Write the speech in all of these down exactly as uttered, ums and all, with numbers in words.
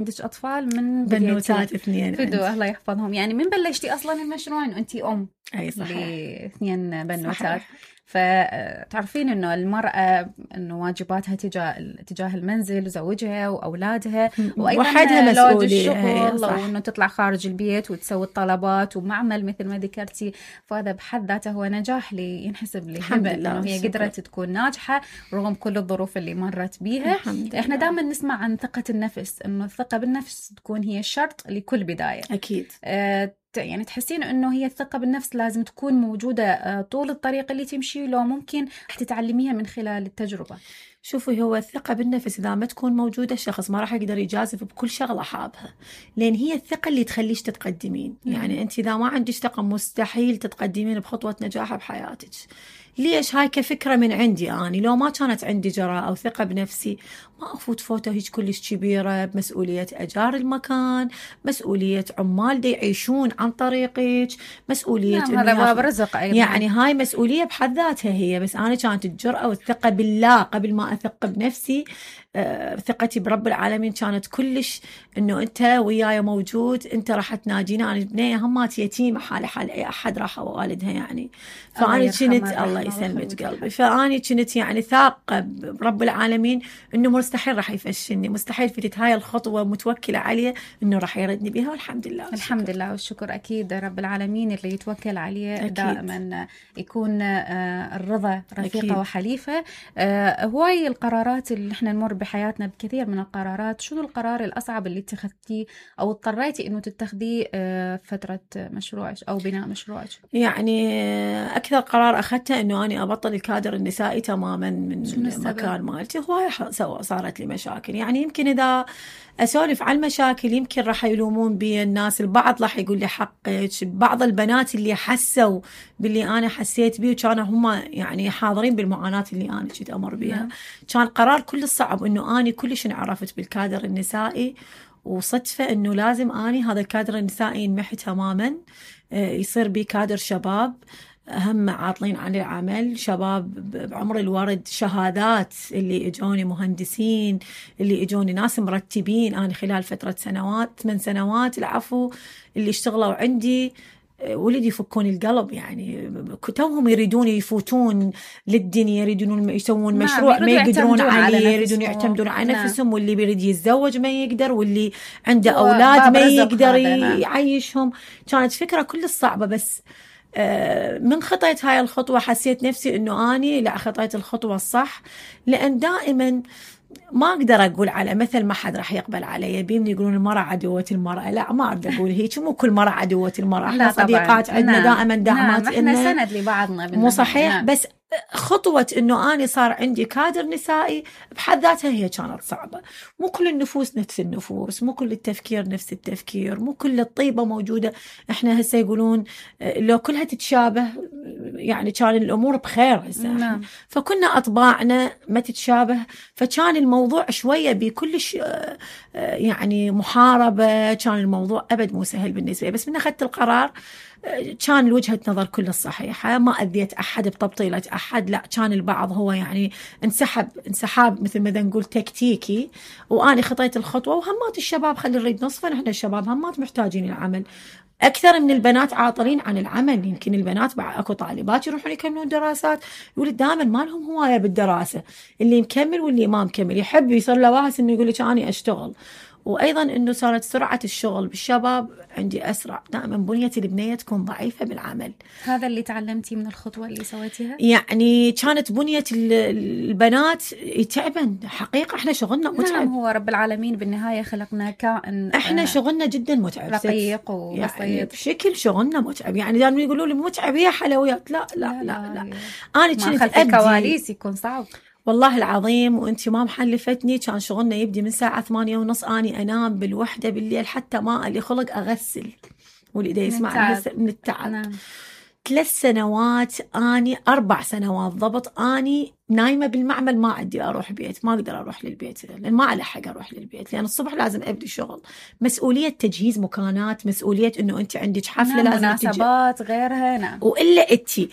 عندك أطفال من بنوتات اثنين فدو الله يحفظهم. يعني من بلشتي أصلا المشروع إنه أنتي أم أي صحيح لاثنين بنوتات صحيح. فتعرفين إنه المرأة إنه واجباتها تجاه تجاه المنزل وزوجها وأولادها، وحدها لود مسؤولية الشغل وإنه تطلع خارج البيت وتسوي الطلبات ومعمل مثل ما ذكرتي. فهذا بحد ذاته هو نجاح اللي ينحسب لهبة إنه هي قدرت تكون ناجحة رغم كل الظروف اللي مرت بيها. إحنا دائما نسمع عن ثقة النفس، إنه الثقة بالنفس تكون هي الشرط لكل بداية. أكيد. أه يعني تحسين انه هي الثقة بالنفس لازم تكون موجودة طول الطريق اللي تمشي، لو ممكن تتعلميها من خلال التجربة؟ شوفي، هو الثقة بالنفس إذا ما تكون موجودة الشخص ما راح يقدر يجازف بكل شغلة حابها، لأن هي الثقة اللي تخليش تتقدمين. يعني أنت إذا ما عندك ثقة مستحيل تتقدمين بخطوة نجاح بحياتك. ليش؟ هاي كفكرة من عندي أنا، لو ما كانت عندي جرأة أو ثقة بنفسي ما أفوت فوتة هيك كلش كبيرة بمسؤولية أجار المكان، مسؤولية عمال دي يعيشون عن طريقك، مسؤولية نعم هذا باب رزق أيضا. يعني هاي مسؤولية بحد ذاتها هي. بس أنا كانت الجرأة والثقة بالله قبل ما أثق بنفسي. آه ثقتي برب العالمين كانت كلش إنه أنت وياي موجود، أنت راح تناجينا. أنا بنية همات يتيمة حالي حال أي أحد راح والدها يعني. فأنا كنت الله يسلمك قلبي، فأنا كنت يعني ثاقة برب العالمين إنه مستحيل راح يفشلني، مستحيل فتت هاي الخطوة متوكلة عليه إنه راح يردني بها، والحمد لله والشكر. الحمد لله والشكر. أكيد رب العالمين اللي يتوكل عليه أكيد. دائما يكون الرضا رفيقة أكيد. وحليفة. هواي القرارات اللي احنا نمر بحياتنا بكثير من القرارات، شنو القرار الأصعب اللي اتخذتيه أو اضطريتي إنه تتخذيه فترة مشروعك أو بناء مشروعك؟ يعني أكثر قرار أخذته إنه أنا أبطل الكادر النسائي تماما من المكان مالتي. هواي صارت لي مشاكل. يعني يمكن إذا أسولف عن المشاكل يمكن راح يلومون بي الناس، البعض راح يقول لي حقك، بعض البنات اللي حسوا باللي أنا حسيت بيه وكانوا هم يعني حاضرين بالمعاناة اللي أنا كنت أمر بيها. كان قرار كل الصعب إنه أنا كلش انعرفت بالكادر النسائي، وصدفة إنه لازم أني هذا الكادر النسائي ينمحي تماما، يصير بي كادر شباب هم عاطلين عن العمل، شباب بعمر الورد، شهادات اللي اجوني مهندسين، اللي اجوني ناس مرتبين. أنا خلال فترة سنوات ثمان سنوات العفو اللي اشتغلوا عندي ولدي يفكون القلب. يعني توهم يريدون يفوتون للدنيا، يريدون يسوون مشروع ما يقدرون عليه، يريدون يعتمدون على نفسهم، واللي بيريد يتزوج ما يقدر، واللي عنده أولاد ما يقدر يعيشهم. كانت فكرة كل الصعبة. بس من خطيت هاي الخطوة حسيت نفسي إنه أني لا خطيت الخطوة الصح. لأن دائما ما أقدر أقول على مثل ما حد راح يقبل علي بيمني يقولون المرأة عدوة المرأة. لا ما أقدر أقول هيك، مو كل مرأة عدوة المرأة. احنا صديقات عندنا نعم. دائما دعمات. نعم. احنا سند لبعضنا مو صحيح نعم. بس خطوة إنه أنا صار عندي كادر نسائي بحد ذاتها هي كانت صعبة. مو كل النفوس نفس النفوس، مو كل التفكير نفس التفكير، مو كل الطيبة موجودة. إحنا هسه يقولون لو كلها تتشابه يعني كان الأمور بخير هسه نعم. فكنا أطباعنا ما تتشابه، فكان الموضوع شوية بكلش يعني محاربة. كان الموضوع أبد مو سهل بالنسبة لي. بس من أخذت القرار كان الوجهة نظر كل الصحيحة، ما أذيت أحد بتبطيلة أحد. لا كان البعض هو يعني انسحب انسحاب مثل ما نقول تكتيكي، وأنا خطيت الخطوة. وهمات الشباب خلي نريد نصفا، نحن الشباب همات محتاجين العمل أكثر من البنات عاطلين عن العمل. يمكن البنات أكو طالبات يروحون يكملون دراسات، يقول دائما ما لهم هواية بالدراسة، اللي مكمل واللي ما مكمل يحب يصير له واهس إنه يقول لك أنا أشتغل. وأيضا إنه صارت سرعة الشغل بالشباب عندي أسرع. دائما بنية البنية تكون ضعيفة بالعمل. هذا اللي تعلمتي من الخطوة اللي سويتيها؟ يعني كانت بنية البنات يتعبن حقيقة. إحنا شغلنا متعب. نعم هو رب العالمين بالنهاية خلقنا كائن إحنا شغلنا جدا متعب، رقيق وبسيط يعني بشكل شغلنا متعب. يعني دائما يقولوا لي متعب هي حلويات. لا لا لا لا, لا. أنا كنت خلف الكواليس يكون صعب والله العظيم. وانت ما محلفتني كان شغلنا يبدي من ساعة ثمانية ونص، أني أنام بالوحدة بالليل حتى ما اللي خلق أغسل واللي دا يسمع من التعب. نعم. ثلاث سنوات أني أربع سنوات ضبط أني نايمة بالمعمل، ما عندي أروح بيت، ما أقدر أروح للبيت لأن ما ألحق أروح للبيت، لأن الصبح لازم أبدي شغل، مسؤولية تجهيز مكانات، مسؤولية إنه أنت عندك حفلة نعم. لازم مناسبات غيرها. نعم. وإلا أنتي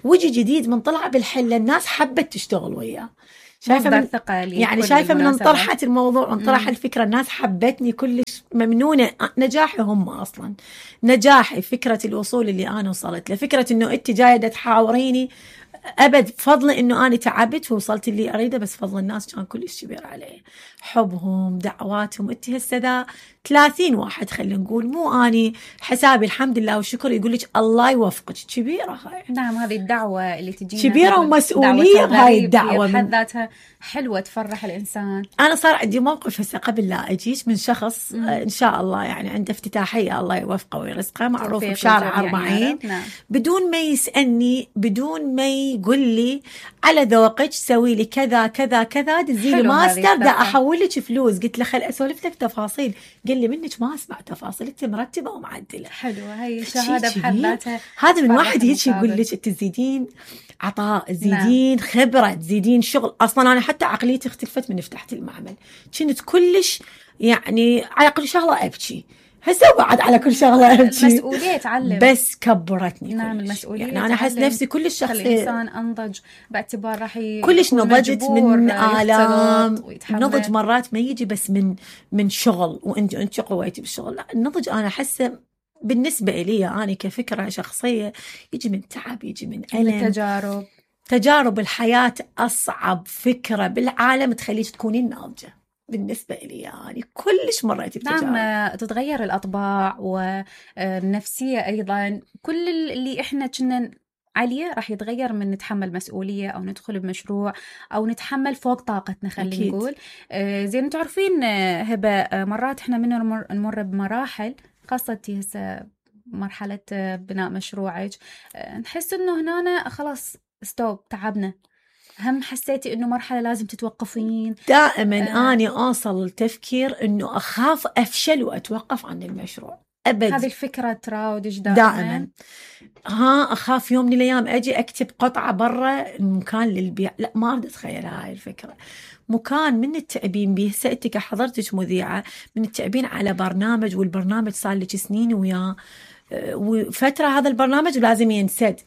وجه جديد من طلع بالحلة الناس حبت تشتغل وياه. شايفه من ثقة يعني شايفه من انطرحت الموضوع انطرح الفكره، الناس حبتني كلش ممنونه. نجاحي هم اصلا نجاحي، فكره الوصول اللي انا وصلت له، فكره انه انت جايه تحاوريني ابد فضل انه انا تعبت ووصلت اللي اريده، بس فضل الناس كان كلش كبير عليه، حبهم دعواتهم. انت هسه ذا ثلاثين واحد خلينا نقول، مو اني حسابي الحمد لله والشكر، يقول لك الله يوفقك، كبيره هاي. نعم هذه الدعوه اللي تجينا كبيره ومسؤوليه، هاي الدعوه بحد ذاتها حلوه تفرح الانسان. انا صار عندي موقف هسه قبل لا اجيش من شخص مم. ان شاء الله يعني عنده افتتاحيه الله يوفقه ويرزقه، معروف بشارع أربعين، يعني نعم. بدون ما يسالني، بدون ما يقول لي على ذوقك سوي لي كذا كذا كذا، دزي لي ماستر دا احول لك فلوس. قلت له خل اسولف لك تفاصيل، قال لي منك ما اسمع تفاصيل، انت مرتبه ومعدله. حلوه هي شهاده بحد ذاتها. هذا من واحد هيك يقول لك انت تزيدين عطاء، تزيدين نعم. خبره، تزيدين شغل. اصلا انا حتى عقليتي اختلفت من فتحت المعمل، كنت كلش يعني على كل شغله ابكي، هسه بعد على كل شغله ابكي. المسؤوليه تعلم، بس كبرتني. نعم المسؤوليه يعني انا احس نفسي كلش شخص الانسان انضج باعتبار راح كلش نضجت من آلام. النضج مرات ما يجي بس من من شغل وانت انت قويتي بالشغل، لا النضج انا احسه بالنسبه لي انا كفكره شخصيه يجي من تعب، يجي من الم، تجارب. تجارب الحياه أصعب فكره بالعالم تخليك تكونين ناضجه بالنسبة لي، يعني كلش مريت بتجارب. نعم تتغير الأطباع والنفسية أيضا، كل اللي إحنا كنا عليه راح يتغير من نتحمل مسؤولية أو ندخل بمشروع أو نتحمل فوق طاقتنا خلينا نقول. آه زي ما تعرفين هبة، مرات إحنا من نمر, نمر بمراحل، خاصة هسه مرحلة بناء مشروعك، آه نحس إنه هنا خلاص ستوب تعبنا، هم حسيتي انه مرحله لازم تتوقفين؟ دائما آه. اني اوصل لتفكير انه اخاف افشل واتوقف عن المشروع ابد. هذه الفكره تراودش دائما. دائما ها اخاف يوم من الايام اجي اكتب قطعه برا المكان للبيع، لا ما اريد اتخيل هاي الفكره. مكان من التعبين به، هسه انت كحضرتك مذيعه من التعبين على برنامج، والبرنامج صار لك سنين وياه وفتره هذا البرنامج لازم ينسد.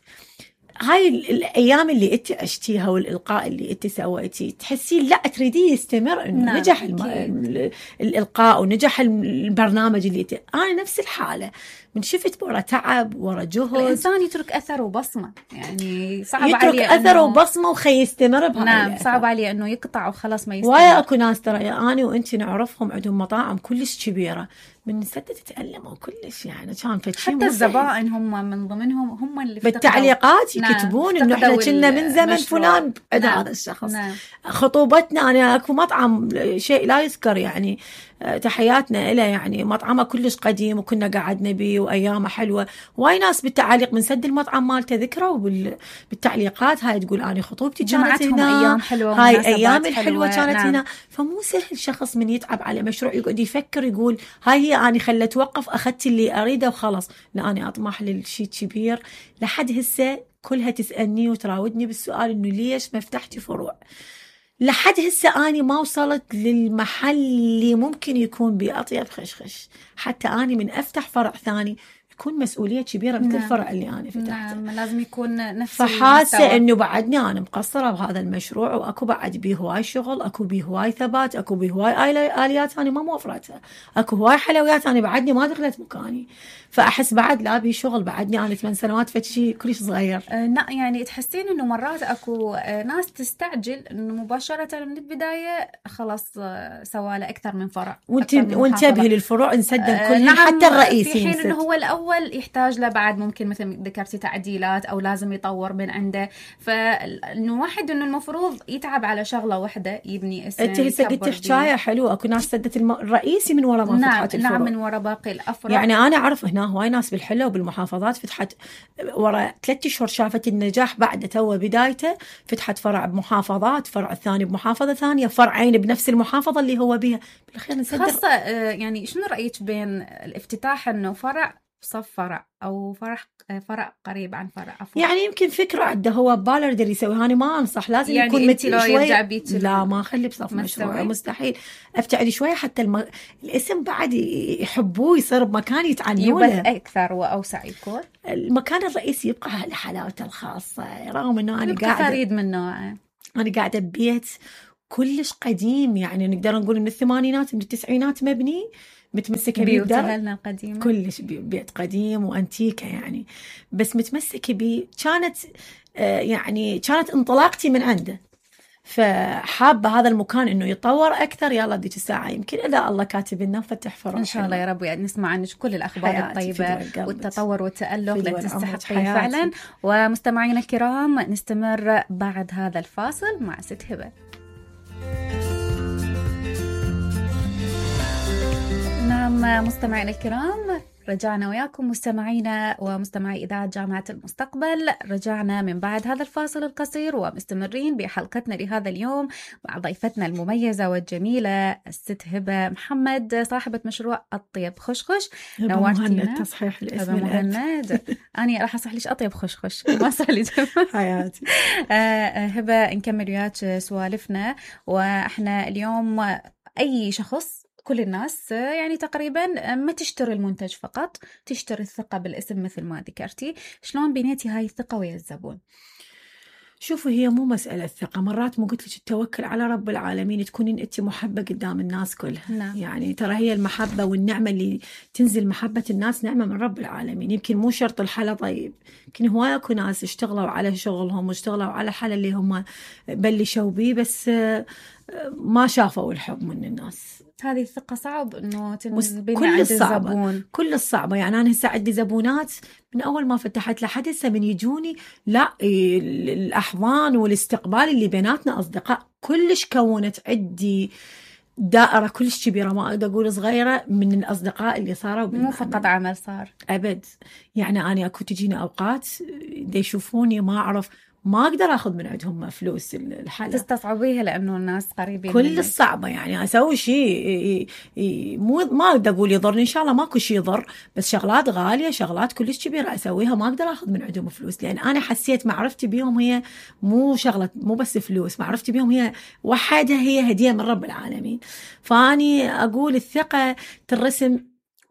هاي الأيام اللي أنت عشتيها والإلقاء اللي أنت سويتيه تحسين لا تريديه يستمر، إنه نعم. نجح الم... الإلقاء ونجح البرنامج اللي أنت. أنا نفس الحالة، من شفت ورا تعب ورا جهد، الإنسان يترك أثر وبصمة، يعني صعب عليه يترك أثر أنه... وبصمة وخي يستمر بهاي نعم الأثر. صعب عليه إنه يقطع وخلاص ما يستمر. ويا أكو ناس ترى أنا وأنت نعرفهم عندهم مطاعم كلش كبيرة، من سدة تتألموا كلش، يعني كان فتشي حتى الزبائن هم من ضمنهم هم اللي بالتعليقات يكتبون نعم. إنه إحنا كنا من زمن فلان بعد نعم. هذا الشخص نعم. خطوبتنا أنا أكو مطعم شيء لا يذكر يعني، تحياتنا إله، يعني مطعمه كلش قديم وكنا قعدنا بيه وأيامه حلوة. واي ناس بالتعاليق من سد المطعم مالته ذكروا بالتعليقات هاي تقول أنا خطوبتي كانت هنا، أيام حلوة هاي أيام الحلوة كانت نعم. هنا. فمو سهل شخص من يتعب على مشروع يقعد يفكر يقول هاي هي أنا خلت توقف أخذت اللي أريده وخلاص، لا أنا أطمح للشيء كبير. لحد هسه كلها تسألني وتراودني بالسؤال إنه ليش ما فتحتي فروع. لحد هسه أنا ما وصلت للمحل اللي ممكن يكون بأطيب خشخش، حتى أنا من أفتح فرع ثاني يكون مسؤولية كبيرة مثل نعم. الفرع اللي أنا فتحته. نعم لازم يكون نفس فحاسة إنه بعدني أنا مقصرة بهذا المشروع، وأكو بعد بيه هواي شغل، أكو بيه هواي ثبات، أكو بيه هواي آليات أنا ما موفرتها، أكو هواي حلويات أنا بعدني ما دخلت مكاني. فأحس بعد لا بي شغل، بعدني أنا ثمان سنوات فتشي كلش صغير. أه لا يعني تحسين إنه مرات أكو ناس تستعجل إنه مباشرة من البداية خلاص سوالة أكثر من فرع. وانتبهي للفروع نسدن أه كلها نعم حتى الرئيسي. في حين إنه هو الأول يحتاج له بعد ممكن مثل ذكرتي تعديلات أو لازم يطور من عنده. فإنه واحد إنه المفروض يتعب على شغلة واحدة يبني اسم. أنت هسه قلتي حكاية حلوة، أكو ناس سدت الم... الرئيسي من وراء ما نعم فتحت الفروع. نعم من وراء باقي الأفرع. يعني أنا أعرف هنا هواي ناس بالحلة وبالمحافظات فتحت ورا ثلاثة أشهر شافت النجاح بعد تو بدايته، فتحت فرع بمحافظات، فرع الثاني بمحافظة ثانية، فرعين بنفس المحافظة اللي هو بها. بالأخير نصدق خاصة يعني شنو رأيك بين الافتتاح إنه فرع صف فرع أو فرع فرع قريب عن فرع عفوا؟ يعني يمكن فكرة عنده هو بباله يقدر يسوي، أنا ما أنصح لازم يعني يكون مثل شوي. لا ما أخلي بصف مشروع مستحيل، أبتعد شوية حتى الم... الاسم بعد يحبوه يصير بمكان يتعنونه يبث أكثر وأوسع يكون. المكان الرئيسي يبقى على حلاوته الخاصة، رغم إنه أنا قاعدة فريد من نوعه. أنا قاعدة ببيت كلش قديم، يعني نقدر نقول من الثمانينات من التسعينات مبني، متمسكة بيه بيوتها القديمة كلش بيت قديم وأنتيكة يعني، بس متمسكة بيه. كانت آه يعني كانت انطلاقتي من عنده، فحابة هذا المكان إنه يتطور أكثر. يلا ديك الساعة يمكن إذا الله كاتب لنا فتح فرص إن شاء الله يا رب، يعني نسمع عنك كل الأخبار الطيبة والتطور والتألق اللي تستحقين فعلا. ومستمعينا الكرام نستمر بعد هذا الفاصل مع ست هبة. نعم مستمعينا الكرام، رجعنا وياكم مستمعينا ومستمعي إذاعة جامعة المستقبل. رجعنا من بعد هذا الفاصل القصير ومستمرين بحلقتنا لهذا اليوم مع ضيفتنا المميزة والجميلة الست هبة محمد، صاحبة مشروع أطيب خشخش. نورتينا. تصحيح الاسم مهند. أنا راح أصح ليش أطيب خشخش ما صح لي حياتي. هبة نكمل وياك سوالفنا. وإحنا اليوم أي شخص، كل الناس يعني تقريبا ما تشتري المنتج فقط، تشتري الثقة بالاسم مثل ما ذكرتي. شلون بنيتي هاي الثقة ويا الزبون؟ شوفوا هي مو مسألة ثقة، مرات مو قلت لك التوكل على رب العالمين، تكونين انت محبة قدام الناس كلها. نعم. يعني ترى هي المحبة والنعمة اللي تنزل، محبة الناس نعمة من رب العالمين. يمكن مو شرط الحلا طيب، يمكن هواية اكو ناس اشتغلوا على شغلهم واشتغلوا على الحلا اللي هم بلشوا بيه، بس ما شافوا الحب من الناس. هذه الثقة صعب إنه تنبني كل عند الصعبة. الزبون. كل الصعبة يعني أنا هسه عندي زبونات من أول ما فتحت لحد هسه من يجوني، لا الأحضان والاستقبال اللي بيناتنا أصدقاء كلش كونت عندي دائرة كلش كبيرة، ما أقدر أقول صغيرة، من الأصدقاء اللي صاروا. مو فقط عمل صار أبد. يعني أنا أكو تجيني أوقات دي يشوفوني ما أعرف، ما أقدر أخذ من عندهم فلوس الحالة، تستصعبيها لأنه الناس قريبين. كل الصعبة يعني أسوي شيء مو ما أقدر أقول يضرني، إن شاء الله ماكو شيء يضر، بس شغلات غالية شغلات كلش كبيرة أسويها ما أقدر أخذ من عندهم فلوس، لأن أنا حسيت معرفتي بيهم هي مو شغلة، مو بس فلوس، معرفتي بيهم هي وحدها هي هدية من رب العالمين. فأني أقول الثقة ترسم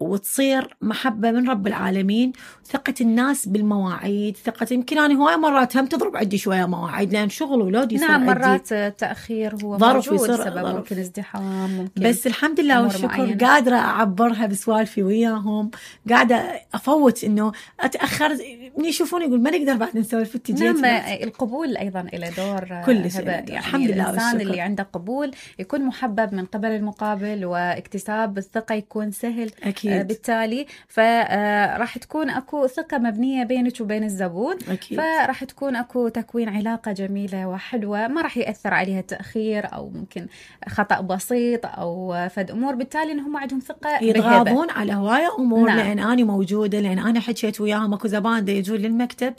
وتصير محبة من رب العالمين، ثقة الناس بالمواعيد، ثقة يمكن أنا هواي مرات هم تضرب عندي شوية مواعيد لأن شغل ولادي يصير نعم عندي. مرات تأخير هو ظرف موجود، يصير سبب ظرف. ممكن ازدحام، ممكن بس الحمد لله والشكر معينة. قادرة أعبرها بسوالفي وياهم، قاعدة أفوت إنه أتأخر من يشوفوني يقول ما نقدر بعد نسولف التجيات. نعم القبول أيضا إلى دور كل يعني الحمد لله الإنسان والشكر. اللي عنده قبول يكون محبب من قبل المقابل، واكتساب الثقة يكون سهل. أكيد. آه بالتالي فراح تكون أكو ثقة مبنية بينك وبين الزبون. أكيد. فراح تكون أكو تكوين علاقة جميلة وحلوة، ما راح يأثر عليها تأخير أو ممكن خطأ بسيط أو فد أمور، بالتالي إنهم عندهم ثقة يتغاضون على هواية أمور. نعم. لأن أنا موجودة، لأن أنا حكيت وياهم. أكو زبائن دا يجون للمكتب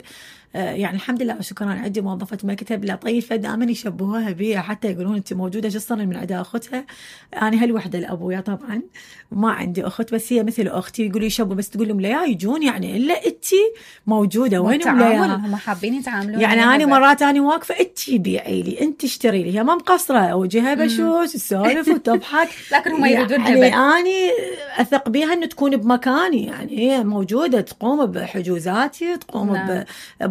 يعني الحمد لله وشكرا عندي موظفة مكتب لطيفة دائما يشبهوها بي، حتى يقولون أنت موجودة جسرا من عدا أختها. أنا هالوحدة لأبويا طبعا ما عندي أخت، بس هي مثل أختي، يقولوا يشبهوا بس تقول لهم لا يجون يعني إلا أنت موجودة وين ولا هم حابين يتعاملون. يعني أنا مرات أنا واقفة أنت بيعي لي أنت اشتري لي، هي ما مقصرة وجهها بشوش السالف وتضحك لكن هم يريدون يعني أنا أثق بيها إنه تكون بمكاني، يعني هي موجودة تقوم بحجوزاتي، تقوم نعم.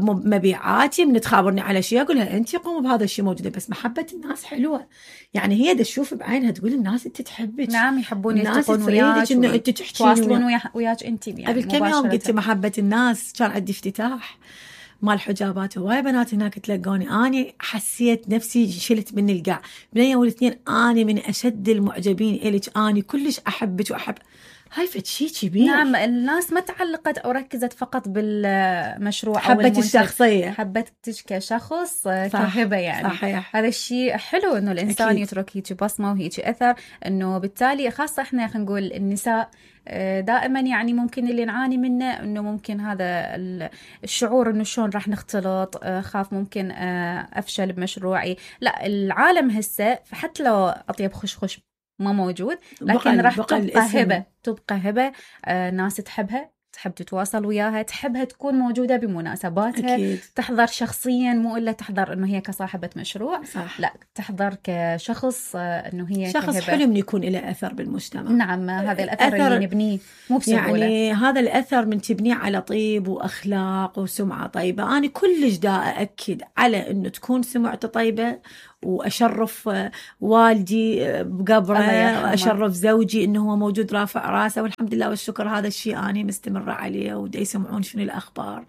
بمبيعاتي، من تخابرني على شيء أقول لها أنت قوم بهذا الشيء موجودة. بس محبة الناس حلوة، يعني هي دا تشوف بعينها تقول الناس أنت تحبك. نعم يحبون يلتقون وياك إنه أنت تحكين تواصلون وياك أنت يعني قبل كم يوم قلت محبة الناس، كان عندي افتتاح مال حجابات هواي بنات هناك تلقوني، أنا حسيت نفسي شلت من القاع. بنية والاثنين أنا من أشد المعجبين إليك، أنا كلش أحبك وأحب هاي فد شيء كبير. نعم الناس ما تعلقت أو ركزت فقط بالمشروع حبت أو الشخصية، حبتك كشخص كهبة يعني. صحيح. هذا الشيء حلو إنه الإنسان أكيد. يترك هيك بصمة وهيك أثر، إنه بالتالي خاصة إحنا خلينا نقول النساء دائما يعني ممكن اللي نعاني منه إنه ممكن هذا الشعور إنه شلون راح نختلط، خاف ممكن أفشل بمشروعي. لا العالم هسه حتى لو أطيب خشخش ما موجود، لكن راح تبقى هبة، تبقى هبة آه ناس تحبها، تحب تتواصل وياها، تحبها تكون موجودة بمناسباتها. أكيد. تحضر شخصيا، مو إلا تحضر إنه هي كصاحبة مشروع. صح. لا تحضر كشخص آه إنه هي شخص كهبة. حلو من يكون له أثر بالمجتمع. نعم هذا الأثر أثر اللي نبنيه مو بسهولة، يعني هذا الأثر من تبنيه على طيب وأخلاق وسمعة طيبة. أنا كلش دا أأكد على إنه تكون سمعته طيبة واشرف والدي بقبره، واشرف زوجي انه هو موجود رافع راسه، والحمد لله والشكر هذا الشيء اني مستمره عليه. ودي يسمعون شنو الاخبار،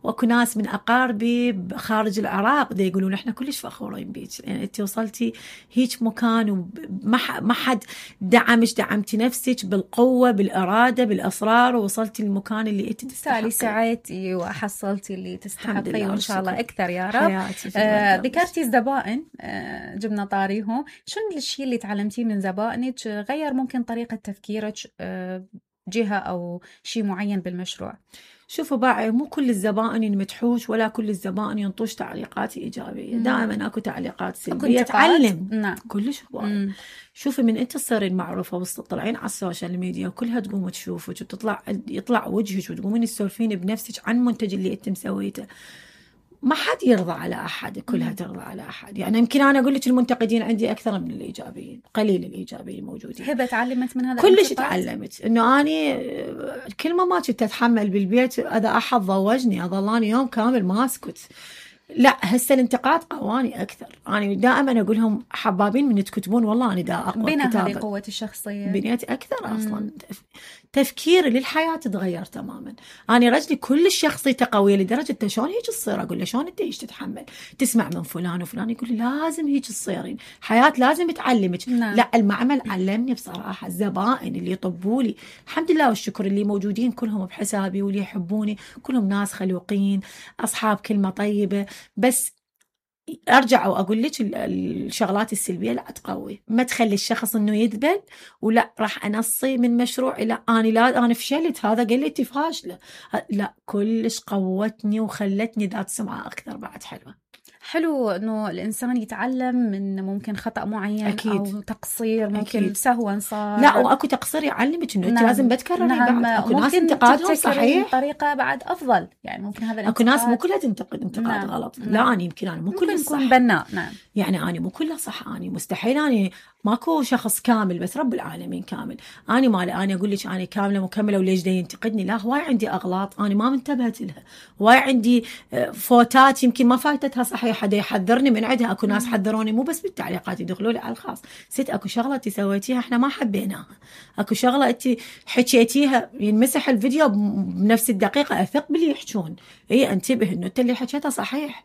واكو ناس من اقاربي خارج العراق دي يقولون احنا كلش فخورين بيك، يعني انت وصلتي هيك مكان وما ما حد دعمش، دعمتي نفسك بالقوه بالاراده بالاصرار، ووصلتي للمكان اللي انت تستحقي. سعيتي وحصلتي اللي تستحقيه وان شاء الله اكثر يا رب. آه ذكرتي الزبائن، آه جبنا طاريهم، شنو الشيء اللي تعلمتيه من زبائنك غير ممكن طريقه تفكيرك آه جهه او شيء معين بالمشروع؟ شوفوا باعي، مو كل الزبائن ينمدحوش ولا كل الزبائن ينطوش تعليقات إيجابية. دائما أكو تعليقات سلبية تعلم. نعم. كلش هواي. شوفي من أنت تصيرين معروفة وتطلعين على السوشيال ميديا وكلها تقوم تشوفك وتطلع يطلع وجهك وتقومين تسولفين بنفسك عن منتج اللي أنت مسويته، ما حد يرضى على أحد، كلها ترضى على أحد. يعني يمكن أنا أقول لك المنتقدين عندي أكثر من الإيجابيين، قليل الإيجابيين موجودين. هبة تعلمت من هذا كلش تعلمت إنه أني كلمة ما كنت أتحمل بالبيت إذا أحد ضوجني أظلاني يوم كامل ما أسكت. لا هسه الانتقاد قواني أكثر. أنا دائما أقول لهم حبابين من تكتبون والله أنا دا أقوى بناء كتابة. هذه قوة الشخصية بنيت أكثر أصلا. تفكيري للحياة تغير تماما. أنا رجلي كل شخصيته قوية لدرجة شلون هيك تصير. أقول له شلون أنت إيش تتحمل؟ تسمع من فلان وفلان يقول لي لازم هيك تصيرين، حياة لازم تعلمك. نعم. لا المعمل علمني بصراحة. الزبائن اللي يطبوا لي الحمد لله والشكر اللي موجودين كلهم بحسابي واللي يحبوني كلهم ناس خلوقين أصحاب كلمة طيبة. بس ارجع واقول لك الشغلات السلبيه لا تقوي، ما تخلي الشخص انه يذبل ولا راح انصي من مشروعي. لا انا لا انا فشلت، هذا قال لي انت فاشله. لا كلش قوتني وخلتني ذات سمعه اكثر بعد. حلوه. حلو انه الانسان يتعلم من ممكن خطا معين. أكيد. او تقصير ممكن أكيد. سهوا صار. لا واكو تقصير يعلمك انه انت نعم. لازم بتكرري. نعم. بعد اكو ناس انتقادهم صحيح بطريقه بعد افضل، يعني ممكن هذا الانتقاد اكو ناس مو كلها تنتقد انتقاد نعم. غلط. نعم. لا انا يمكن انا مو كلها صح بناء. نعم. يعني انا مو كلها صح. انا مستحيل اني ماكو شخص كامل، بس رب العالمين كامل. انا ما انا اقول لك انا كامله مكمله وليش دا ينتقدني؟ لا هواي عندي اغلاط انا ما منتبهت لها، هواي عندي فوتات يمكن ما فايتتها صحيح، حدا يحذرني من عندها. اكو ناس حذروني مو بس بالتعليقات، يدخلوا لي على الخاص، ست اكو شغله انت سويتيها احنا ما حبيناها، اكو شغله انت حكيتيها ينمسح الفيديو بنفس الدقيقه. اثق باللي يحجون. اي انتبه انه انت اللي حكيتها صحيح.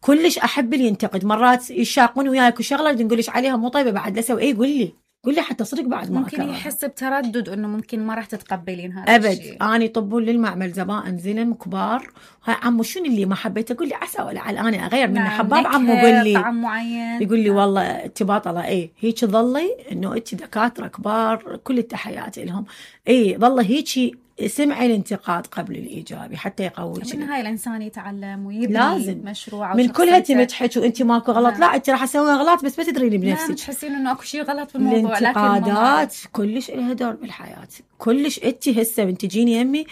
كلش احب اللي ينتقد. مرات يشاقون وياك وشغله اللي نقولش عليها مو طيبه بعد لا اسوي. اي قول لي قول لي حتى صدق بعد ما ممكن أكررها. يحس بتردد انه ممكن ما راح تتقبلين هذا أبد. الشيء. اني يطبون للمعمل زبائن زلم كبار، هاي عمو شنو اللي ما حبيت؟ اقول لي عسى ولا على انا اغير من نعم. حباب عمو قول لي طعم معين. يقول لي والله انت باطله. اي هيك ظلي انه انت دكاتره كبار كل التحيات لهم. اي ظل هيك سمعي الانتقاد قبل الايجابي حتى يقويك. من هاي الانسان يتعلم ويبني لازم. مشروع من كلها تمدحك وانت ماكو غلط. نعم. لا انت راح اسوي غلط بس ما تدرين بنفسك. نعم. تحسين انه اكو شيء غلط بالموضوع. الانتقادات كلش لها دور بالحياه. كلش انت هسه بنت تجيني يمي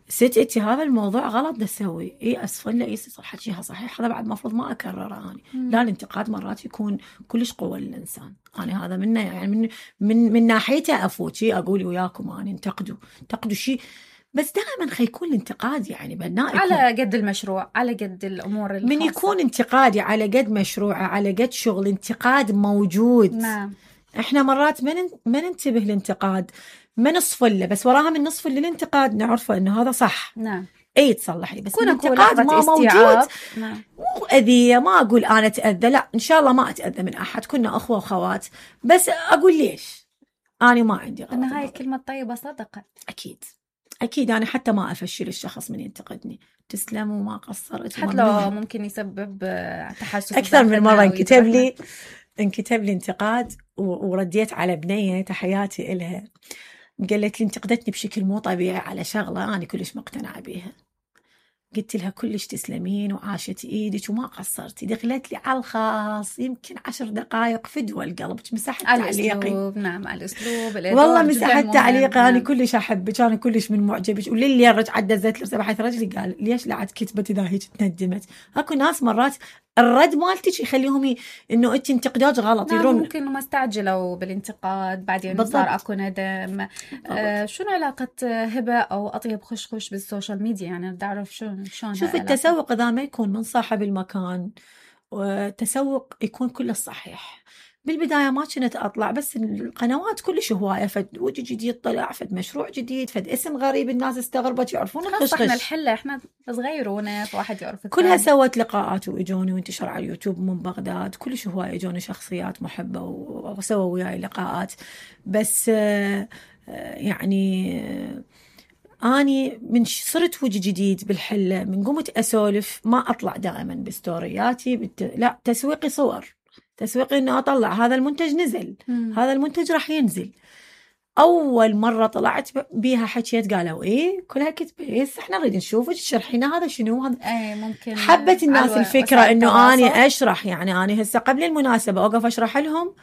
ست انت هذا الموضوع غلط ده تسوي. اي اسفل لا اي صح حكيها صحيح، هذا بعد المفروض ما اكرره اني. لا الانتقاد مرات يكون كلش قوه للانسان. انا هذا منه يعني من من من ناحيته افوتي اقول وياكم اني انتقدوا انتقدوا شيء، بس دائما خيكون الانتقاد يعني بناء على قد المشروع، على قد الامور الخاصة. من يكون انتقادي على قد مشروعه على قد شغل، انتقاد موجود. نعم. احنا مرات ما ما ننتبه للانتقاد، ما نصفل له، بس وراها من نصفل للانتقاد نعرفه انه هذا صح. نعم. اي تصلح لي، بس الانتقاد ما موجود. نعم. مو اذيه، ما اقول انا اتاذى، لا ان شاء الله ما اتاذى من احد، كنا اخوه واخوات، بس اقول ليش انا ما عندي غلط. ان هاي الكلمه الطيبه صدقه. اكيد اكيد. انا حتى ما افشل الشخص من ينتقدني، تسلم وما قصرت، حتى لو ممكن يسبب تحسس اكثر من مره. انكتب لي انكتب لي انتقاد ورديت على بنيه تحياتي إلها، قالت لي انتقدتني بشكل مو طبيعي على شغله انا كلش مقتنعه بيها. قلت لها كلش تسلمين وعاشت ايدك وما قصرتي. دخلت لي على الخاص يمكن عشر دقائق فدوى القلب، مسحت تعليقي. نعم على الاسلوب والله مسحت تعليقي. انا كلش احبك، انا كلش من معجبك. وللي رجعت دزت له بحيث رجلي قال ليش لا عاد كتبت اذا هيك تندمت. اكو ناس مرات الرد مالتك يخليهم ي... انه انت انتقادك غلط. نعم يدرون ممكن ما استعجلوا بالانتقاد بعدين بالضبط. صار اكو ندم. آه شنو علاقه هبه او اطيب خشخش بالسوشيال ميديا؟ يعني بدي اعرف شو شلون. شوف التسوق اذا ما يكون من صاحب المكان وتسوق يكون كله صحيح. بالبداية ما كنت أطلع، بس القنوات كلش هواية، فد وجه جديد طلع، فد مشروع جديد، فد اسم غريب الناس استغربت يعرفون الخشخش. احنا الحلة احنا صغيرون فواحد يعرف الثاني. كلها سوت لقاءات وإجوني وانتشر على اليوتيوب من بغداد، كلش هواية إجوني شخصيات محبة وسووا وياي لقاءات. بس يعني أني من صرت وجه جديد بالحلة، من قمت أسولف ما أطلع دائما بستورياتي بت... لا تسويقي صور، تسويقي إنه أطلع هذا المنتج نزل، مم. هذا المنتج راح ينزل. أول مرة طلعت بيها حكيت قالوا إيه كلها كتبت إحنا نريد نشوفك تشرحينا هذا شنو هذا. أي ممكن حبت الناس الفكرة إنه أني أشرح، يعني أنا هسه قبل المناسبة أوقف أشرح لهم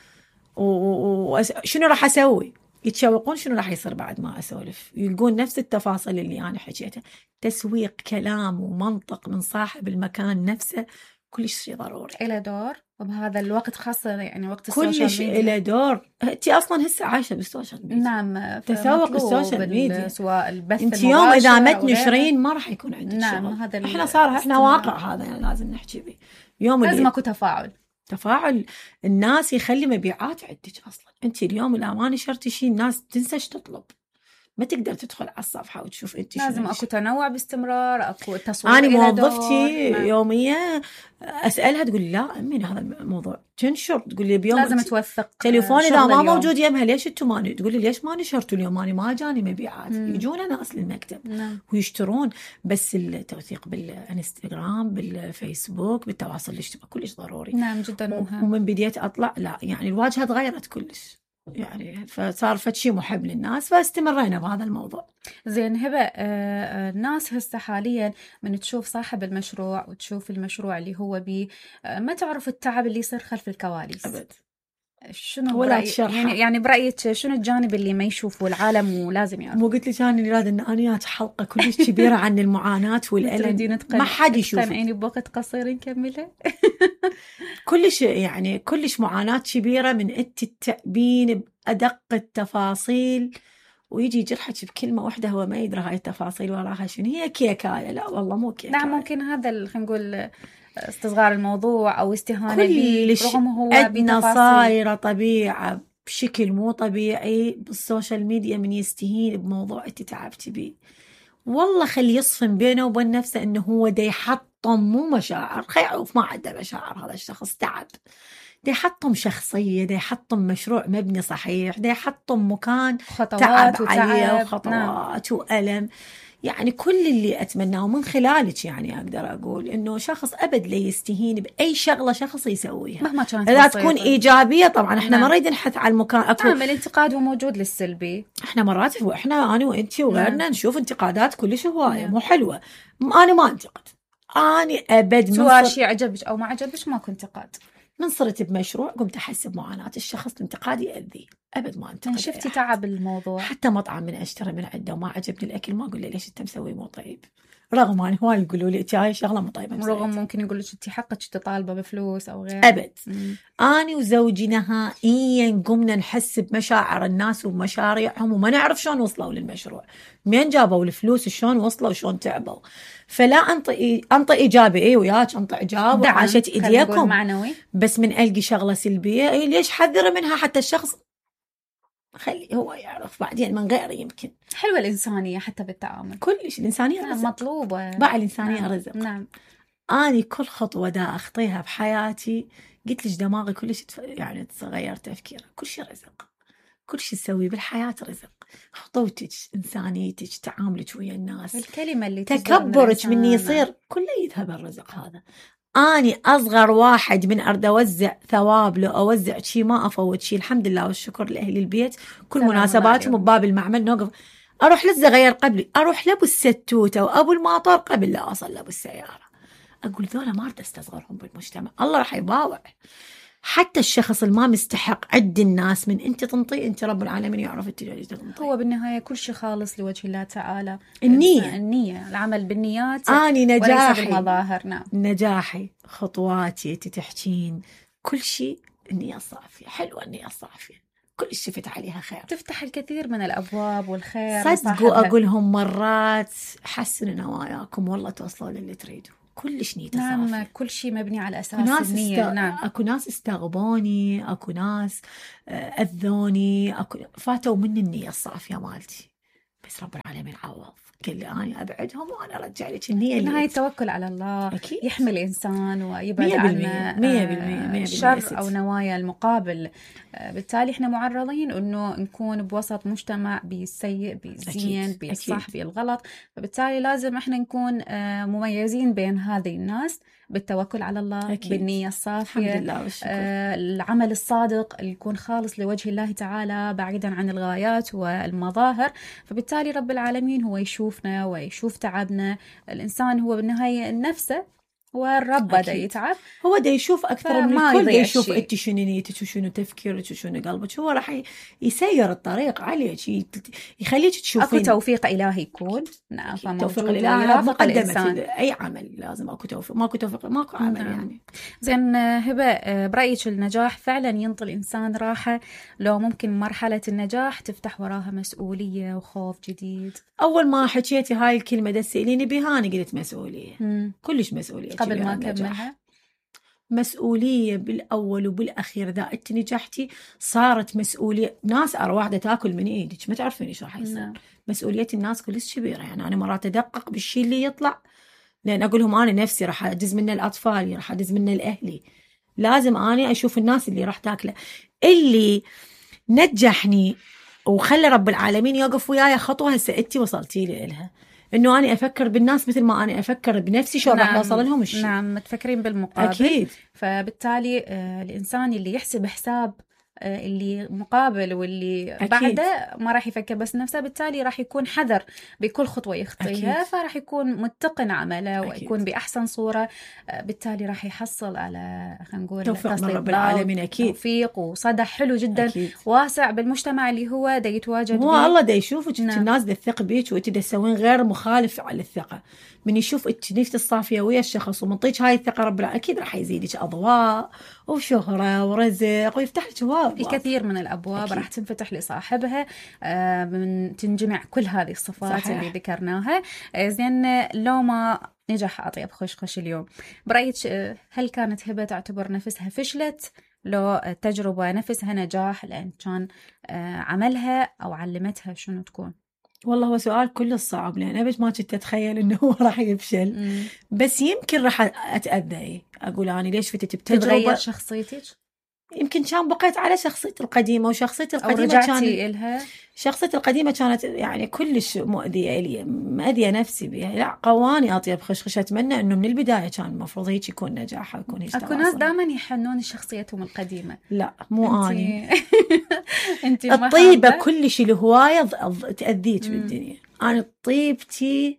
وشنو راح أسوي، يتشوقون شنو راح يصير بعد ما أسولف، يلقون نفس التفاصيل اللي أنا حكيتها. تسويق كلام ومنطق من صاحب المكان نفسه كلش شيء ضروري، إلى دور وبهذا الوقت خاصة، يعني وقت السوشيال ميديا كلش إلى دور. أنت أصلا هسه عايشة بالسوشيال ميديا. نعم، تسوق السوشيال ميديا، سواء البث أنت يوم إذا ما تنشرين ما راح يكون عندك نعم شغل. هذا إحنا صار إحنا واقع هذا يعني لازم نحكي به. يوم لازم أكو تفاعل تفاعل الناس يخلي مبيعات عندك. أصلا أنت اليوم إذا ما نشرتي شيء الناس تنسى تطلب، ما تقدر تدخل على الصفحة وتشوف أنت. لازم أكو تنوع باستمرار، أكو تصوير. أنا موظفتي يومية أسألها تقول لا أمين هذا الموضوع تنشر، تقول لي بيوم لازم توثق تليفون إذا ما موجود يمها ليش أنتوا ما، تقول لي ليش ما نشرتوا اليوم، أنا ما جاني مبيعات. مم. يجونا ناس للمكتب مم. ويشترون، بس التوثيق بالإنستغرام بالفيسبوك بالتواصل الاجتماعي كلش ضروري. نعم جدا مهم. ومن بديت أطلع لا يعني الواجهة تغيرت كلش، يعني فصار فشي محب للناس، فاستمرينا بهذا الموضوع. زين هبة، آه الناس هسه حاليا من تشوف صاحب المشروع وتشوف المشروع اللي هو بيه، آه ما تعرف التعب اللي يصير خلف الكواليس أبد. شنو ولا برأي... يعني يعني برأيك شنو الجانب اللي ما يشوفه العالم ولازم يعرف؟ مو قلت لك أنا اللي راد إن أنا حلقة كلش كبيرة عن المعاناة والألم ما حد يشوف. تقنعيني بوقت قصير نكملها. كلش يعني كلش معاناة كبيرة من أنت التأبين بأدق التفاصيل، ويجي يجرحك بكلمة واحدة هو ما يدري هاي التفاصيل وراها شنو. هي كيكاية، لا والله مو كيكاية. نعم ممكن هذا خلينا نقول استصغار الموضوع أو استهانة به، رغم هو أدنى صايرة طبيعة بشكل مو طبيعي بالسوشيال ميديا. من يستهين بموضوع أنت تعبتي بيه والله خلي يصفن بينه وبين نفسه إنه هو دا يحطم مو مشاعر، خيعوف ما عنده مشاعر هذا الشخص، تعب دا يحطم شخصية، دا يحطم مشروع مبني صحيح، دا يحطم مكان تعب عليه وخطوات نعم. وألم. يعني كل اللي أتمناه من خلالك يعني أقدر أقول إنه شخص أبد لا يستهين بأي شغلة شخص يسويها مهما كانت إذا تكون إيجابية. طبعا إحنا نعم. ما نريد نحث على المكان. أكو نعم الانتقاد وموجود للسلبي. إحنا مرات وإحنا أنا وإنتي وغيرنا نعم. نشوف انتقادات كلش هواية نعم. مو حلوة. أنا ما انتقد، أنا أبد سواء شيء عجبك أو ما عجبك ما كنت انتقاد. من صرت بمشروع قمت أحس بمعاناة الشخص، الانتقاد يأذي، أبد ما انتقد. شفتي تعب الموضوع. حتى مطعم من أشتري من عنده وما عجبني الأكل ما أقول له ليش أنت مسوي مو طيب، رغم أن هواي يقولوا لي هاي شغلة مو طيبة، رغم ممكن يقول لك أنت حقك تطالبه بفلوس أو غير. أبد. مم. أنا وزوجي نهائيا قمنا نحس بمشاعر الناس ومشاريعهم وما نعرف شلون وصلوا للمشروع، مين جابوا الفلوس، شلون وصلوا، شلون تعبوا. فلا أنطي أنطي إيجابي، إيه وياك أنطي إيجاب وعاشت إيديكم معنوي. بس من ألقي شغلة سلبية إيه ليش حذر منها، حتى الشخص خلي هو يعرف بعدين من غيره. يمكن حلوة الإنسانية حتى بالتعامل، كلش الإنسانية نعم مطلوبة بقى الإنسانية نعم. رزق. نعم. أنا كل خطوة دا أخطيها بحياتي قلت ليش دماغي كلش يعني تغير تفكيره. كل شيء رزق، كل شيء تسويه بالحياة رزق. خطوتك، إنسانيتك، تعاملك ويا الناس، الكلمة اللي تكبرك من يصير كله يذهب الرزق هذا. أني أصغر واحد من أرد أوزع ثواب لو أوزع شيء ما أفوت شيء، الحمد لله والشكر لأهل البيت. كل مناسباتهم بباب المعمل نوقف، أروح لسه غير قبلي، أروح لأبو الستوتة وأبو الماطر قبل لا أصل لأبو السيارة. أقول ذولا ما أرد أستصغرهم بالمجتمع، الله راح يباوع. حتى الشخص الما مستحق عد الناس من أنت تنطي، أنت رب العالمين يعرف أنت ليش تنطي. هو بالنهاية كل شيء خالص لوجه الله تعالى. النية النية العمل بالنيات أني نجاحي بالمظاهر. نعم نجاحي خطواتي تتحكين كل شيء النية الصافية. حلوة النية الصافية كل شفت عليها خير، تفتح الكثير من الأبواب والخير. صدقوا أقولهم مرات حسنوا نواياكم والله توصلوا للي تريدوا. كلش نيته نعم صافية. كل شيء مبني على أساس ناس النية. است... نعم. اكو ناس استغبوني، اكو ناس اذوني، اكو فاتوا من النية الصافية مالتي، بس رب العالمين عوض، قال لي أنا أبعدهم وأنا أرجع لك النية. بالنهاية التوكل على الله أكيد. يحمي الإنسان ويبعد عن الشر أو نوايا المقابل. بالتالي إحنا معرضين أنه نكون بوسط مجتمع بالسيء بالزين بالصح بالغلط، فبالتالي لازم إحنا نكون مميزين بين هذه الناس بالتوكل على الله. أكيد. بالنية الصافية. الحمد لله والشكر. آه العمل الصادق اللي يكون خالص لوجه الله تعالى بعيدا عن الغايات والمظاهر، فبالتالي رب العالمين هو يشوفنا ويشوف تعبنا. الإنسان هو بالنهاية نفسه والرب بدأ يتعب، هو دا يشوف أكثر من الكل، دا يشوف أنت شنو نيتك وشنو تفكيرك وشنو قلبك، هو راح يسير الطريق عليك، يخليك تشوفين. أكو توفيق إلهي يكون. نعم. توفيق الإلهي مقدمة أي عمل، لازم أكو توفيق، ماكو توفيق ماكو عمل. نعم. يعني زين هبة، برأيك النجاح فعلا ينطي الإنسان راحة لو ممكن مرحلة النجاح تفتح وراها مسؤولية وخوف جديد؟ أول ما حكيتي هاي الكلمة دا تسأليني بها أنا قلت مسؤولية. مم. كلش مسؤولية قبل ما أكملها. مسؤولية بالأول وبالأخير. إذا أنت نجحتي صارت مسؤولية ناس. أرى واحدة تاكل من إيدك ما تعرفين إيش راح يصير. نعم. مسؤولية الناس كلش كبيرة. يعني أنا مرات أدقق بالشيء اللي يطلع، لأن أقول لهم أنا نفسي راح أدز منه الأطفال، راح أدز منه الأهلي، لازم أنا أشوف الناس اللي راح تاكله. اللي نجحني وخلى رب العالمين يوقف وياي خطوة هسه أنتي وصلتي لي إلها، إنه أنا أفكر بالناس مثل ما أنا أفكر بنفسي، شو نعم. راح يوصل لهم الشيء. نعم. تفكرين بالمقابل. أكيد. فبالتالي آه الإنسان اللي يحسب حساب آه اللي مقابل واللي أكيد. بعده ما راح يفكر بس نفسه، بالتالي راح يكون حذر بكل خطوة يخطيها، فراح يكون متقن عمله أكيد. ويكون بأحسن صورة. آه بالتالي راح يحصل على خلينا نقول توفيق من رب العالمين. أكيد. توفيق وصدى حلو جدا أكيد. واسع بالمجتمع اللي هو دا يتواجد هو الله دا يشوفك. نعم. الناس دا تثق بيك وانت دا تسوين غير مخالف على الثقة. من يشوف انت نيتك الصافية ويا الشخص ومنطيك هاي الثقة رب العالمين أكيد راح يزيدك أضواء وشهرة ورزق ويفتح لك أبواب. الكثير من الأبواب أكيد. راح تنفتح لصاحبها آه من تنجمع كل هذه الصفات صحيح. اللي ذكرناها. آه زين لو ما نجح أطيب خشخش اليوم، برأيك هل كانت هبة تعتبر نفسها فشلت لو تجربة نفسها نجاح لأن كان آه عملها أو علمتها شنو تكون؟ والله هو سؤال كل صعب، لأن أبد ما كنت أتخيل إنه هو راح يفشل. مم. بس يمكن راح أتأذى. أقول أنا ليش فتت بتجربة تتغير شخصيتك؟ يمكن كان بقيت على شخصيتي القديمة، وشخصيتي القديمة أو رجعتي إلها. شخصيتي القديمة كانت يعني كلش مؤذية لي، مؤذية نفسي بها. لا قواني أطيب خشخش. أتمنى إنه من البداية كان المفروض هيك يكون نجاحها ويكون هيك. أكو ناس دائما يحنون شخصيتهم القديمة. لا مو انتي... أني الطيبة كلش الهواية تأذيك بالدنيا. أنا طيبتي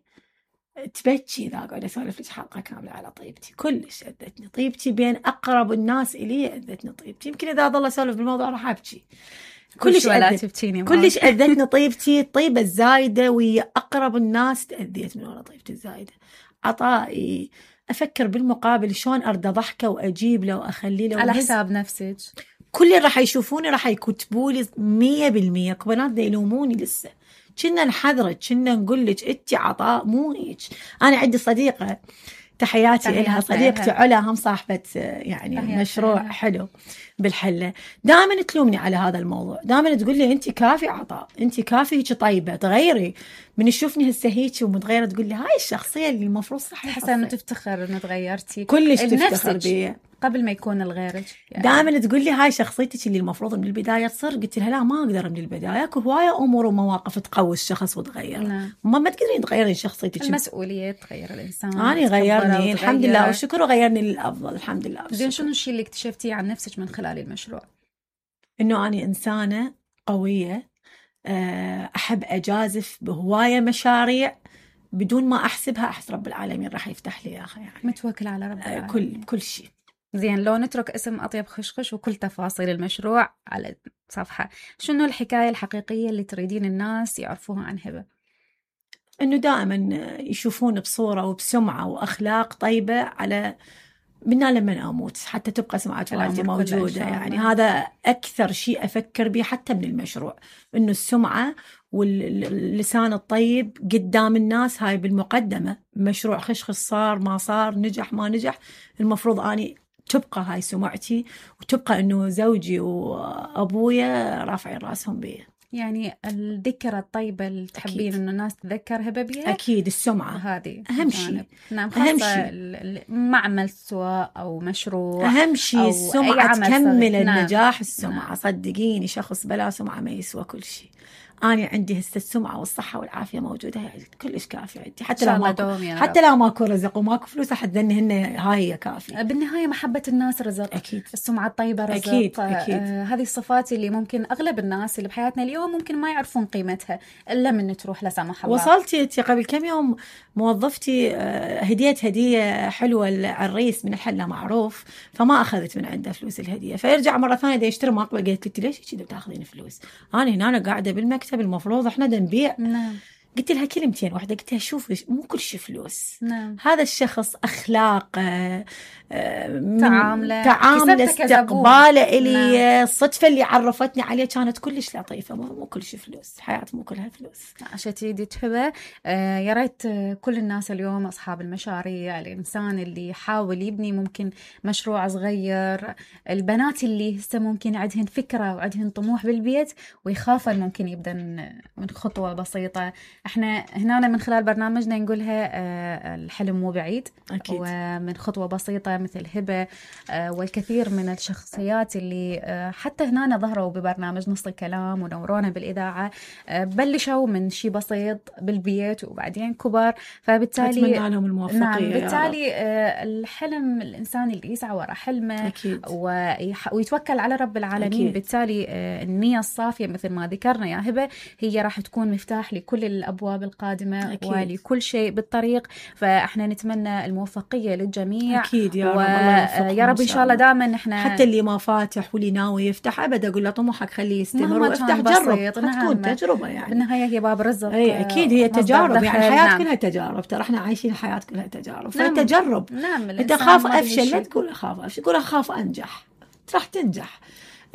تبكي إذا قاعدة أسولف لك حلقة كاملة على طيبتي. كلش أذتني طيبتي، بين أقرب الناس إلي أذتني طيبتي. يمكن إذا ظل أسولف بالموضوع راح أبكي. كلش أذتني كلش أذتني طيبتي. الطيبة الزايدة ويا أقرب الناس تأذيت من ورا طيبتي الزايدة. عطائي أفكر بالمقابل شلون أرد ضحكة وأجيب له وأخلي له على حساب نفسك. كل اللي راح يشوفوني راح يكتبوا لي مية بالمية. كبنات دا يلوموني لسه. كنا نحذرك، كنا نقول لك انت عطاء مو هيك. انا عندي صديقه تحياتي لها، صديقتي علا، هم صاحبه يعني مشروع لها. حلو بالحله. دائما تلومني على هذا الموضوع، دائما تقول لي انت كافي عطاء، انت كافي هيك طيبه، تغيري. من تشوفني هسه هيك ومتغيره تقول لي هاي الشخصيه اللي المفروض صح. حسن انه تفتخر انه تغيرتي. كلش تفتخر بي قبل ما يكون الغيرك يعني. دائما تقول لي هاي شخصيتك اللي المفروض من البدايه تصير. قلت لها لا ما اقدر من البدايه، اكو هوايه امور ومواقف تقوي الشخص وتغير. نعم. ما ما تقدرين تغيرين شخصيتك. المسؤوليه تغير الانسان. انا غيرني الحمد لله والشكر، وغيرني للافضل الحمد لله. زين شنو الشيء اللي اكتشفتيه عن نفسك من خلال المشروع؟ انه انا انسانه قويه، احب اجازف بهوايه مشاريع بدون ما احسبها. احس رب العالمين راح يفتح لي اياها يعني. متوكل على رب العالمين. كل كل شيء. زين لو نترك اسم أطيب خشخش وكل تفاصيل المشروع على صفحة، شنو الحكاية الحقيقية اللي تريدين الناس يعرفوها عن هبة؟ إنه دائما يشوفون بصورة وبسمعة وأخلاق طيبة على منا لما أموت حتى تبقى سمعة والدي موجودة. يعني هذا أكثر شيء أفكر به حتى من المشروع، إنه السمعة واللسان الطيب قدام الناس هاي بالمقدمة. مشروع خشخش صار ما صار، نجح ما نجح، المفروض أني تبقى هاي سمعتي، وتبقى إنه زوجي وأبويا رافعين راسهم بي. يعني الذكرى الطيبة اللي تحبين إنه الناس تذكرها بها. أكيد السمعة هذه أهم شيء. نعم، أهم شيء معمل سواء أو مشروع أهم شيء السمعة تكمل النجاح. نعم. السمعة نعم. صدقيني شخص بلا سمعة ما يسوى كل شيء. أنا عندي هسه السمعة والصحة والعافية موجودة، يعني كلش كافية عندي. حتى لو ماكو حتى لو ماكو رزق وماكو فلوس أحد ذني هن هاي كافية. بالنهاية محبة الناس رزق. أكيد. السمعة الطيبة رزق. أكيد. أكيد. آه هذه الصفات اللي ممكن أغلب الناس اللي بحياتنا اليوم ممكن ما يعرفون قيمتها إلا من تروح لا سمح الله. وصلتي قبل كم يوم موظفتي هديت هدية حلوة العريس من حلة معروف، فما أخذت من عنده فلوس الهدية، فيرجع مرة ثانية دا يشتري ماقبة. قلت لي ليش كذا بتاخذين فلوس؟ أنا هنا أنا قاعدة بالمكتب، المفروض إحنا دا نبيع. نعم. قلت لها كلمتين واحدة، قلت لها شوفي مو كل شيء فلوس. نعم. هذا الشخص أخلاقه، تعامله، تعامله، استقباله إلي، نعم. الصدفة اللي عرفتني عليه كانت كلش لطيفة. مو كل شيء فلوس، حياة مو كلها فلوس. عشان تريدي تهبه. آه يا ريت كل الناس اليوم أصحاب المشاريع، الإنسان اللي يحاول يبني ممكن مشروع صغير، البنات اللي هسه ممكن عندهن فكرة وعندهن طموح بالبيت ويخافن ممكن يبدأ من خطوة بسيطة. احنا هنا من خلال برنامجنا نقولها آه الحلم مو بعيد. أكيد. ومن خطوة بسيطة مثل هبة آه والكثير من الشخصيات اللي آه حتى هنا ظهروا ببرنامج نص الكلام ونورونا بالإذاعة، آه بلشوا من شيء بسيط بالبيت وبعدين كبار. فبالتالي أتمنى لهم الموفقية. نعم، بالتالي آه الحلم الإنسان اللي يسعى وراء حلمه. أكيد. ويتوكل على رب العالمين. أكيد. بالتالي آه النية الصافية مثل ما ذكرنا يا هبة هي راح تكون مفتاح لكل الأبواب القادمة. أكيد. ولكل شيء بالطريق. فإحنا نتمنى الموفقية للجميع. أكيد يا رب. ويا رب إن شاء الله دائما إحنا حتى اللي ما فاتح واللي ناوي يفتح أبدا أقول له طموحك خليه يستمر ويفتح، جرب. نعم. تكون تجربة يعني. بالنهاية هي باب رزق. أي أكيد هي تجارب. يعني الحياة نعم. كلها تجارب. ترى إحنا عايشين الحياة كلها تجارب. نعم. فتجرب. نعم. أنت خاف أفشل لا تقول أخاف أفشل، تقول أخاف أنجح، راح تنجح.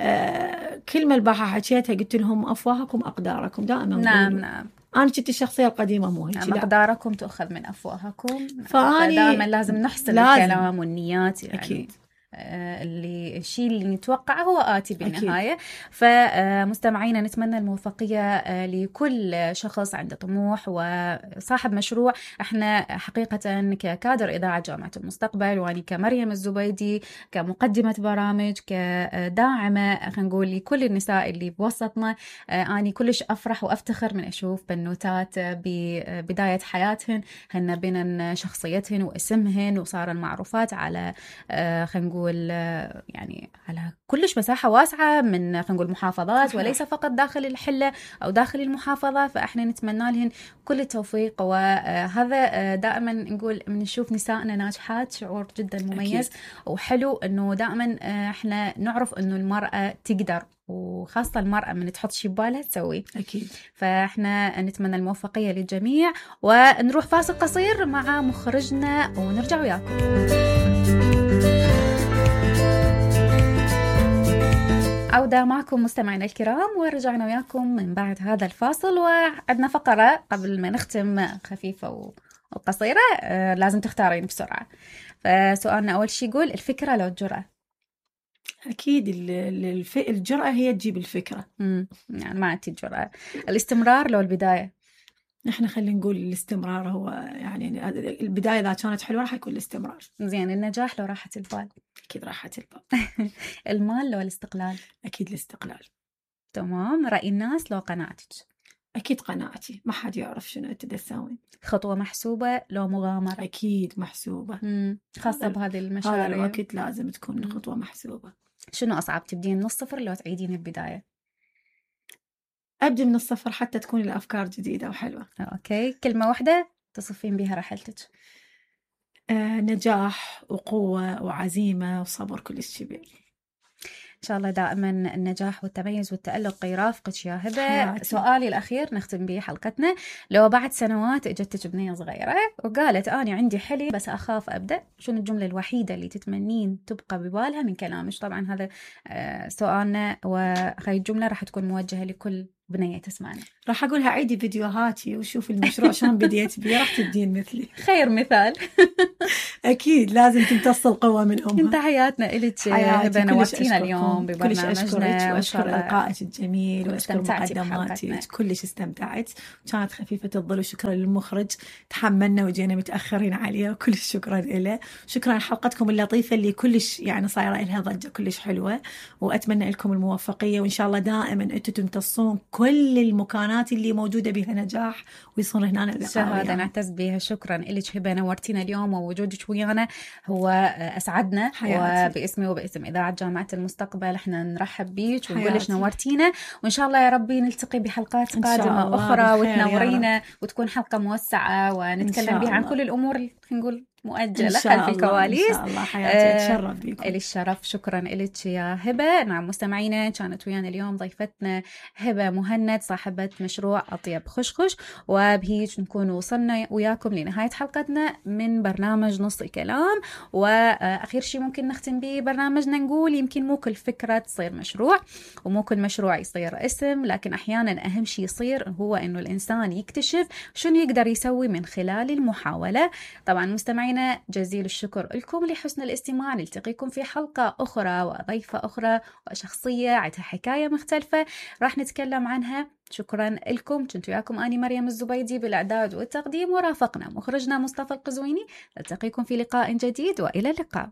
آه كلمة البارحة حكيتها قلت لهم أفواهكم أقداركم دائما. نعم. نعم. أنا كنت الشخصية القديمة مو هيك. مقداركم تأخذ من أفواهكم. فأني دائما لازم نحسن لازم. الكلام والنيات يعني. أكيد. اللي الشيء اللي نتوقعه هو آتي بالنهاية. أكيد. فمستمعينا نتمنى الموفقية لكل شخص عنده طموح وصاحب مشروع. احنا حقيقة ككادر إذاعة جامعة المستقبل، واني كمريم الزبيدي كمقدمة برامج كداعمة خلينا نقول لكل النساء اللي بوسطنا، اني كلش أفرح وأفتخر من أشوف بنوتات ببداية حياتهن هن بين شخصيتهن واسمهن وصارن معروفات على خلينا نقول يعني على كلش مساحة واسعة من خلينا نقول محافظات، وليس فقط داخل الحلة أو داخل المحافظة. فإحنا نتمنى لهن كل التوفيق. وهذا دائما نقول من نشوف نسائنا ناجحات شعور جدا مميز. أكيد. وحلو إنه دائما إحنا نعرف إنه المرأة تقدر، وخاصة المرأة من تحط شي ببالها تسوي. أكيد. فإحنا نتمنى الموفقية للجميع، ونروح فاصل قصير مع مخرجنا ونرجع وياكم. عودة معكم مستمعينا الكرام، ورجعنا وياكم من بعد هذا الفاصل، وعندنا فقرة قبل ما نختم خفيفة وقصيرة آه لازم تختارين بسرعة. فسؤالنا أول شيء يقول الفكرة لو الجرأة؟ أكيد الف... الجرأة هي تجيب الفكرة. امم يعني ما عندي الجرأة. الاستمرار لو البداية؟ نحن خلينا نقول الاستمرار هو يعني البداية إذا كانت حلوة راح يكون الاستمرار. زين. النجاح لو راحة البال؟ أكيد راحة البال. المال لو الاستقلال؟ أكيد الاستقلال. تمام. رأي الناس لو قناعتك؟ أكيد قناعتي، ما حد يعرف شنو أنت تسوي. خطوة محسوبة لو مغامرة؟ أكيد محسوبة. مم. خاصة بهذه المشاريع هذا الوقت لازم تكون مم. خطوة محسوبة. شنو أصعب، تبدين من الصفر لو تعيدين البداية؟ أبدأ من الصفر حتى تكون الأفكار جديدة وحلوة. أوكي. كلمة واحدة تصفين بها رحلتك؟ آه، نجاح وقوة وعزيمة وصبر كلش كبير. إن شاء الله دائما النجاح والتميز والتألق يرافقك يا هبة. سؤالي الأخير نختم به حلقتنا، لو بعد سنوات اجتك بنية صغيرة وقالت أنا عندي حلي بس أخاف أبدأ، شنو الجملة الوحيدة اللي تتمنين تبقى ببالها من كلامك؟ طبعا هذا سؤالنا، وهاي الجملة راح تكون موجهة لكل بنية تسمعنا. راح أقولها عيدي فيديوهاتي وشوفي المشروع شلون بديت بيه، راح تدين مثلي. خير مثال. أكيد لازم تمتص القوة من أمها. انت حياتنا إلك هبة، نورتينا اليوم ببرنامجنا، كلش أشكرك وأشكر إلقائك الجميل وأشكر مقدماتك، كلش استمتعت وكانت خفيفة الظل. وشكرا للمخرج تحملنا وجينا متأخرين عليه وكلش شكرا له. شكرا لحلقتكم اللطيفة اللي كلش يعني صايرة لها ضجة كلش حلوة، وأتمنى لكم الموفقية وإن شاء الله دائما أنتم تمتصون كل المكانات اللي موجودة بها نجاح ويصير هنا اللقاء. شهادة نعتز بها. شكرا لك هبة، نورتينا اليوم ووجودك ويانا هو أسعدنا حياتي. وباسمي وباسم إذاعة جامعة المستقبل احنا نرحب بيك ونقول لك نورتينا، وإن شاء الله يا ربي نلتقي بحلقات قادمة أخرى وتنورينا وتكون حلقة موسعة ونتكلم بها عن كل الأمور اللي نقول مؤجلة خلف الكواليس. إن شاء الله حياتي أتشرف بكم. إلي الشرف. شكرا إلك يا هبة. نعم مستمعينا، كانت ويانا اليوم ضيفتنا هبة مهند صاحبة مشروع أطيب خشخش، وبهيج نكون وصلنا وياكم لنهاية حلقتنا من برنامج نص كلام. وآخر شيء ممكن نختم به برنامجنا نقول يمكن مو كل فكرة تصير مشروع ومو كل مشروع يصير اسم، لكن أحيانا أهم شيء يصير هو إنه الإنسان يكتشف شنو يقدر يسوي من خلال المحاولة. طبعا مستمعينا جزيل الشكر لكم لحسن الاستماع. نلتقيكم في حلقة أخرى وضيفة أخرى وشخصية عندها حكاية مختلفة راح نتكلم عنها. شكرا لكم. كنت وياكم أني مريم الزبيدي بالإعداد والتقديم، ورافقنا مخرجنا مصطفى القزويني. نلتقيكم في لقاء جديد وإلى اللقاء.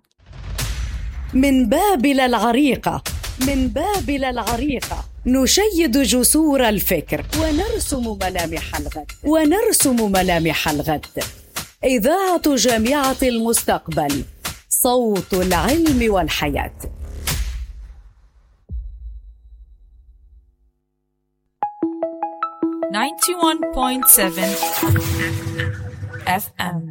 من بابل العريقة، من بابل العريقة نشيد جسور الفكر ونرسم ملامح الغد، ونرسم ملامح الغد. إذاعة جامعة المستقبل، صوت العلم والحياة. ninety-one point seven إف إم